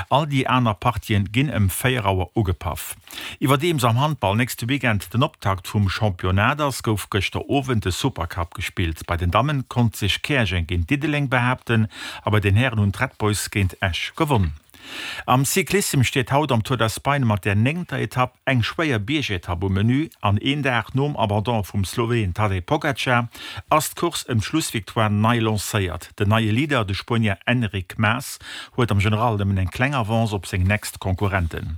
All déi aner Partien ginn ëm 4 Auer ugepaff. Iwwerdeems am Handball nächste Weekend den Optakt vum Championnat ass, gouf gëschter Owend de Supercup gespillt. Bei den Dammen konnt sech Käerjeng géint Diddeleng behaapten a bei den Hären hunn d'Red Boys géint Esch gewonn. Am Cyclissem steet haut am Tour d'Espagne mat der néngter Etapp eng schwéier Biergetapp um Menü an een Dag nom Abandon vum Sloween Tadej Pogacar ass d'Course ëm d'Schlussvictoire nei lancéiert. Den neie Leader, de Spuenier Enric Mas, huet am General nëmmen eng kleng Avance op seng nächst Konkurrenten.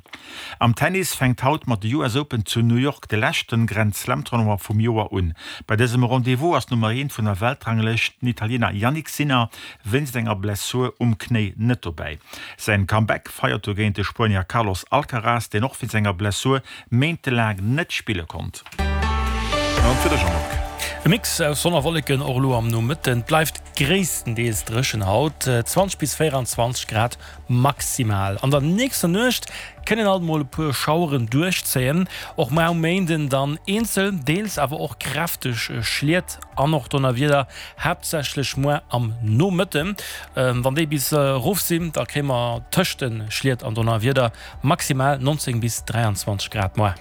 Am Tennis fänkt haut mat de US Open zu New York de leschten Grand Slam Tournoi vum Joer un. Bei dësem Rendez-vous ass d'Nummer Eent vun der Weltranglëscht, den Italiener Jannik Sinner, wéinst enger Blessur um Knéi net dobäi. Säin Comeback feiert dogéint de Spuenier Carlos Alcaraz, deen och wéinst enger Blessur méintelaang net spille konnt. An fir de Jean-Marc. E Mix aus Sonn a Wolleken och elo am Nomëtten. Et bleift gréisstendeels dréchen haut, 20 bis 24 Grad maximal. An der nächster Nuecht kënnen alt mol e puer Schaueren duerchzéien, och mar um Méinden dann eenzel, deels awer och kräfteg Schliet an och Donnerwieder, haaptsächlech muer am Nomëtten. Wann déi bis erof sinn, da kréie mer tëscht de Schliet an Donnerwieder maximal 19 bis 23 Grad muer.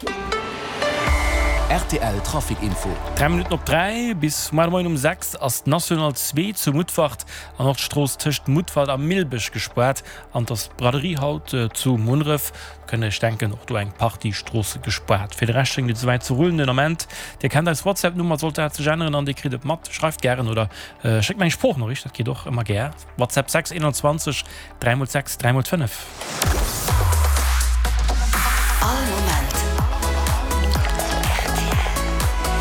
Rtl Trafic Info. 3 Minutten op 3, Bis muer de Moien um 6 ass d'National 2 zu Mutfert an och d'Strooss tëscht Mutfert a Millbech gespaart an et ass d'Braderie haut zu Munneref. Kënnt Iech denken, och do eng Partie Stroosse gespaart. Fir de Rescht schéngt et esouwäit ze rullen den Ament. Dir kennt eis WhatsApp-Nummer, sollt dat sech änneren an Dir kritt et mat. Schreift gären oder schéckt mer eng Sproochnoriicht, dat geet och ëmmer gär. WhatsApp 6 21 3 x 6 3 x 5. All Moment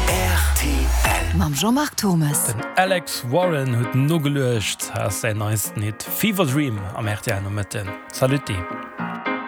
rtl. Mam Jean-Marc Thommes. Den Alex Warren huet nogeluecht, ass säin neisten Hit Fever Dream am rtl Nomëtten. Saluti.